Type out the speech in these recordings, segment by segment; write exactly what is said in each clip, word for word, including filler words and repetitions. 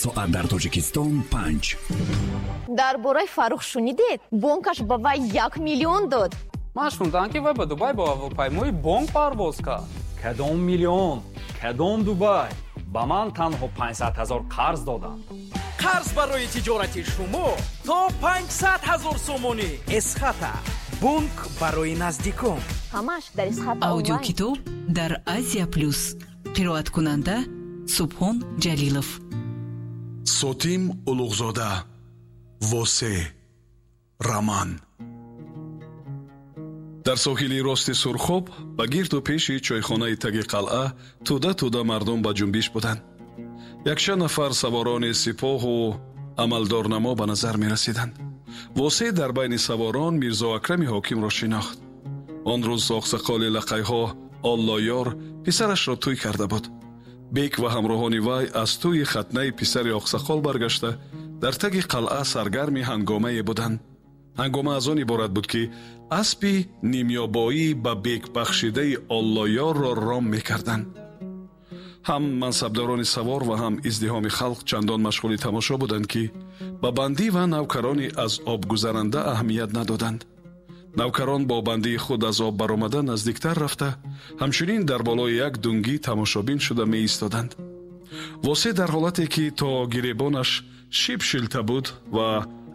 Соат дар Тоҷикистон панҷ. Дар бораи Фаррух шунидед? Бонкаш ба вай як миллион дод. Ман шунидам, ки вай ба Дубай бо ҳавопаймои бонк парвоз кард. Кадом миллион, кадом Дубай? Ба ман танҳо панҷсад ҳазор қарз доданд. Қарз барои тиҷорати шумо то панҷсад ҳазор сомонӣ. Эсхата, бонк барои наздикон. Ҳамаш дар Эсхата. Аудиокитоб дар Азия Плюс. Қироаткунанда Субҳон Ҷалилов. Сотим Улуғзода, «Восе», роман. Дар соҳили рости Сурхоб, ба гирду пеши чойхонаи таги қалъа тӯда тӯда мардум ба ҷунбиш буданд. Якчанд нафар саворони сипоҳу амалдорнамо ба назар мерасиданд. Восе дар байни саворон Мирзо Акрами ҳокимро шинохт. Он рӯз оқсақоли лақайҳо Оллоёр писарашро тӯй карда буд. Бек ва ҳамроҳони вай аз тӯи хатнаи писари оқсақол баргашта, дар таги қалъа саргарми ҳангомае буданд. Ҳангома аз он иборат буд, ки аспи нимёбоӣ ба бек бахшидаи Оллоёрро ром мекарданд. Ҳам мансабдорони савор ва ҳам издиҳоми халқ чандон машғули тамошо буданд, ки ба бандӣ ва навкарони аз об гузаранда аҳамият надоданд. Навкарон бо бандии худ аз об баромада, наздиктар рафта, ҳамчунин дар болои як дунгӣ тамошобин шуда меистоданд. Восе дар ҳолате, ки то гиребонаш шиб шилта буд ва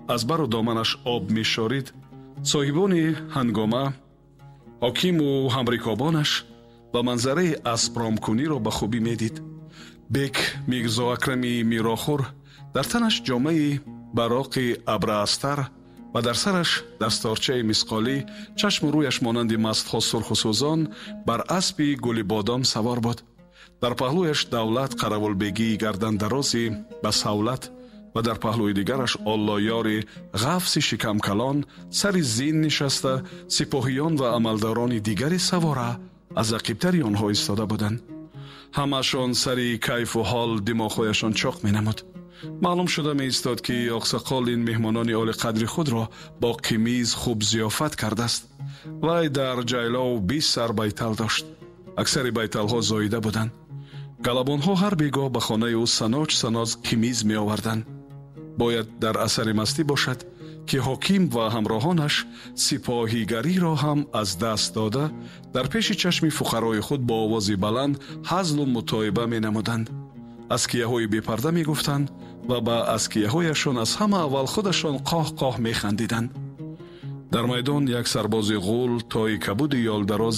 аз бару доманаш об мешорид, соҳибони ҳангома, ҳокиму ҳамрикобонаш ва манзараи аспромкуниро ба хубӣ медид. Бек Мирзо Акрами мирохӯр дар танаш ҷомаи бароқи абраастар ва дар сараш дасторчаи мисқолӣ, чашму рӯяш монанди мастҳо сурху сӯзон, бар аспи гулибодом савор буд. Дар паҳлӯяш Давлат Қаравулбегии гардандарози ба савлат ва дар паҳлӯи дигараш Оллоёри ғафси шикамкалон сари зин нишаста, сипоҳиён ва амалдорони дигари савора аз ақибтари онҳо истода буданд. Ҳамашон сари кайфу ҳол димоғҳояшон чоқ менамуд. Маълум шуда меистод, ки оқсақол ин меҳмонони олиқадри худро бо қимиз хуб зиёфат кардааст. Вай дар ҷайлов бист сар байтал дошт. Аксари байталҳо зоида буданд. Галабонҳо ҳар бегоҳ ба хонаи ӯ саноч саноч қимиз меоварданд. Бояд дар асари мастӣ бошад, ки ҳоким ва ҳамроҳонаш сипоҳигариро ҳам аз даст дода, дар пеши чашми фуқарои худ бо овози баланд ҳазлу мутоиба менамуданд, аскияҳои бепарда мегуфтанд ва ба аскияҳояшон аз ҳама аввал худашон қоҳ қоҳ механдиданд. Дар майдон як сарбози ғул тои кабуди ёлдароз